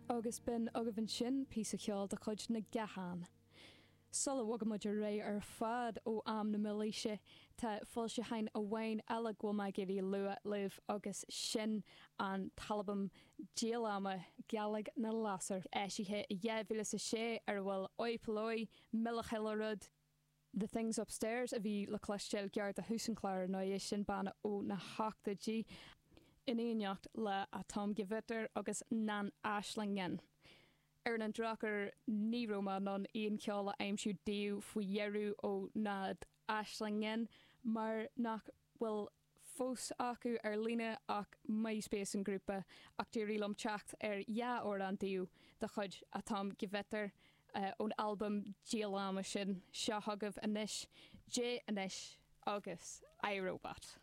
Agus b'in agaibh ansin píosa ceoil de chuid na gCathán. Sula bhfogaimid muid ar aghaidh ar fad ó am na Mílaoise, tá foilseachán amháin eile go bhfuil mé ag iarraidh a lua libh agus sin an t-albam díolama Gealaigh na Lasair, eisithe i 2006 ar a bhfuil Oi Polloi, Mile Chuile Rud, The Things Upstairs a bhí le cloisteáil gearr do thús an chláir ar ndóigh, sin banna ó na hochtóidí, in éineacht le Atomgewitter agus Nan Aislingen. Ar an drochuair ní raibh mé in ann aon cheol a aimsiú daoibh faoi dheireadh ó Nad Aislingen mar nach bhfuil fós acu ar líne ach MySpace an grúpa ach d'éirigh liom teacht ar dhá amhrán daoibh de chuid Atomgewitter ón albam díolama sin. Seo chugaibh anois Dé Anois agus I, Robot.